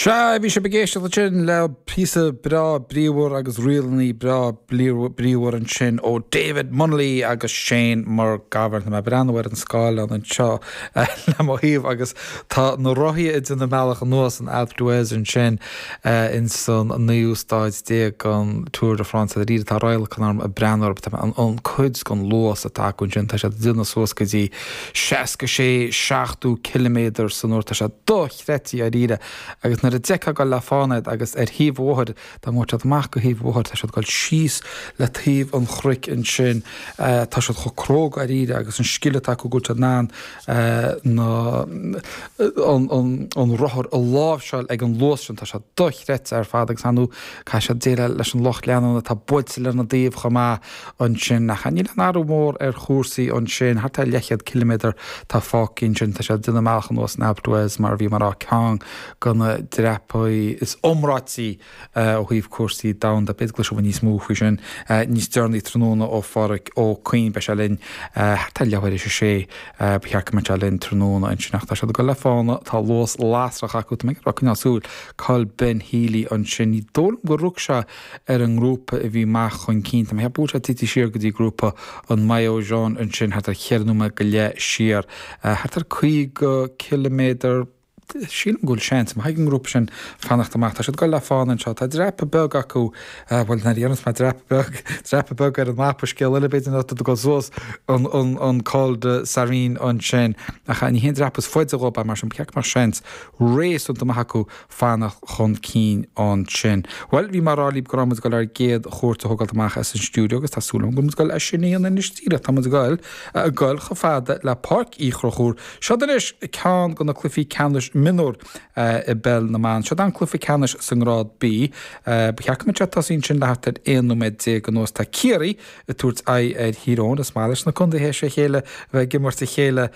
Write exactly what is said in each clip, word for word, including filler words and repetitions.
Sea, bhí sibh ag éisteacht ansin le píosa breá bríomhar agus ríleanna breá bríomhar ansin ó David Munnelly agus Shane McGovern. Tá mé ag breathnú ar an scáileán anseo le mo thaobh agus tá na rothaí ag déanamh a mbealach anuas an Alpe d'Huez ansin in san naoú staid déag den Tour de France a tá radharc orm ag breathnú an an cuid den luas atá acu ansin tá siad ag déanamh suas go dtí seasca sé seachtó ciliméadar san uair tá sé dochreidte dáiríre agus nuair a d'fheicfeá ag dul le fána iad agus ar thaobh an bhóthair dá ngabhadh siad amach go thaobh an bhóthair tá siad ag dul síos le taobh an chnoic ansin tá siad chomh cróga dáiríre agus an scil atá acu go bhfuil siad in ann na an an an rothar a láimhseáil ag an luas sin tá sé dochreidte ar fad agus ar ndóigh caithfidh siad déileáil leis an lucht leanúna atá buailte lena dtaobh chomh maith ansin ach níl aon athrú mór ar chúrsaí ansin thart ar leathchéad ciliméadar tá fágtha ansin tá siad ag déanamh a mbealach anuas an Alpe d'Huez mar a bhí mar á ceann de na dreapaí is iomráití ó thaobh cúrsaí domhanda. B'fhéidir go gcloisfidh níos mó faoi sin níos deireanaí tráthnóna ó Pháraic Ó Cuinn beidh sé linn thart ar leathuair théis a sé ba cheart go mbeadh sé linn tráthnóna ansin ach tá siad ag dul le fána tá luas lasrach acu tá mé ag coinneáil súil Cathal Ben Healy ansin ní dóigh liom gur rug sé ar an ngrúpa a bhí amach chun cinn Tá mé ag ceapadh go bhfuil sé tite siar go dtí grúpa an maillot jaune ansin thart ar cheithre nóiméad go leith siar thart ar caoga ciliméadar sílim go bhfuil seans maith ag an ngrúpa sin fanacht amach. Tá siad ag dul le fána anseo. Tá dreapadh beag acu bhuel nuair a dhéanas mé dreapadh beag dreapadh beag ar an mapa scéal eile b'fhéidir ná tú ag dul suas an an an Col de Sarenne ansin ach ní haon dreapadh is faide dhóibh é mar sin ba cheart go mbeadh seans réasúnta maith acu fanacht chun cinn ansin. Bhuel bhí mé ag rá libh go raibh muid ag dul ár gcéad chuairt a thógáilt amach as an stiúideo agus tá súil agam go bhfuil muid ag dul é sin a dhéanamh anois díreach tá muid ag dul ag dul chomh fada le Páirc Uí Chonchúir. Seo anois ceann de na cluichí ceannais mionúr i bpeil na mban. Seo an cluiche ceannais sa ngrád B. Ba cheart go mbeadh sé tosaithe ansin le thart ar aon nóiméad déag anuas tá Ciarraí ag tabhairt aghaidh ar Thír Eoghain is maith leis na contaetha sé chéile a bheith ag imirt a chéile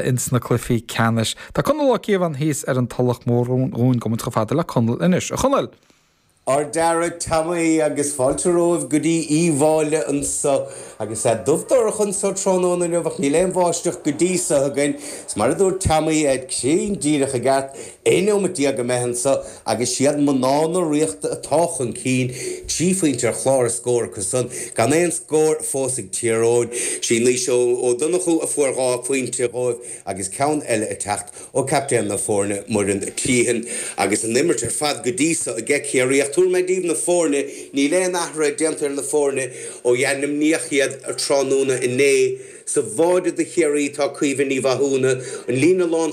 ins na cluichí ceannais. Tá Conall Ó Cíobháin thíos ar an Tulach Mhór dhúinn gabhfaidh muid chomh fada le Conall anois. A Chonaill! Ar deireadh Tommy agus fáilte romhaibh go dtí Uíbh Fhailí anseo agus é dubh dorcha anseo tráthnóna inniu ach níl aon bháisteach go dtí seo againn. Is mar a dúirt Tommy cruinn díreach i gceart aon neomat déag imithe anseo agus siad mná na Ríochta atá chun cinn trí phointe ar chlár a scór acu san gan aon scór fós ag Tír Eoghain. Sí Naoise Ó Donnchú a fuair dhá phointe dhóibh agus ceann eile ag teacht ó captaen na foirne Muireann Teehan agus an imirt ar fad go dtí seo aige Ciarraí ach tabharfaidh mé daoibh na foirne níl aon athrú déanta ar na foirne ó ainmníodh iad tráthnóna inné sa bháide do Chiarraí tá Caoimhe Ní Mhathúna an líne lán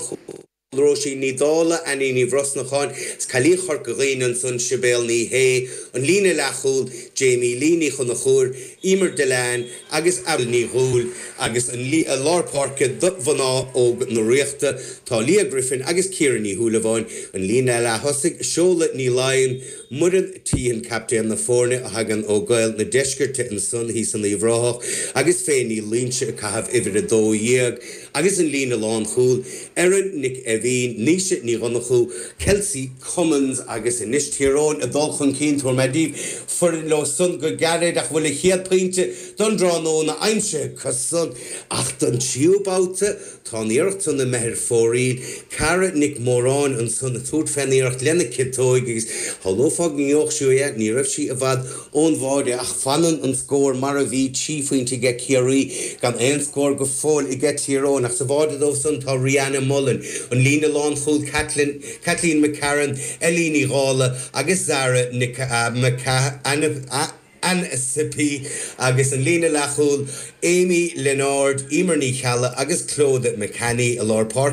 Róisín Ní Dhála Annie Ní Bhrosnacháin is cailín Chorca Dhuibhne ansan Sibéal Ní Shé an líne leathchúil Jamie Lee Ní Chonchúir Emer Delan agus Avril Ní Dhúill agus an lár páirce do mhná óg na Ríochta tá Leah Griffin agus Ciara Ní Shúilleabháin an líne leath-thosaigh Seola Ní Laighin Muireann Teehan captaen na foirne a thagann ó Gael na Deisceirte ansan thíos in Uíbh Ráthach agus Féin Ní Loinsigh ag caitheamh uimhir a dó dhéag agus an líne lánchúil Erin Nic Eimhín Naoise Ní Dhonnchú Kelsey Cummins agus anois Tír Eoghain ag dul chun cinn tabharfaidh mé daoibh foireann leo san go gairid ach bhfuil a chéad pointe don tráthnóna aimsithe acu san ach don tríú babhta tá an iarracht san imithe ar fóraoil Cara Nic Móráin ansan ag tabhairt fén iarracht lena ciotóig agus shamhlófá go ngeobhadh sí é ní raibh sí i bhfad ón bháide ach fanann an scór mar a bhí trí phointe aige Ciarraí gan aon scór go fóill aige Tír Eoghain ach sa bháide dóibh san tá Rihanna Mullen an líne lánchúil Kathleen Kathleen McCarran Ellie Ní Dhála agus Zara Nic Anasipi agus an líne leathchúil Amy Leonard Emer Ní Cheallaigh agus Clodagh McCanny i lár páirce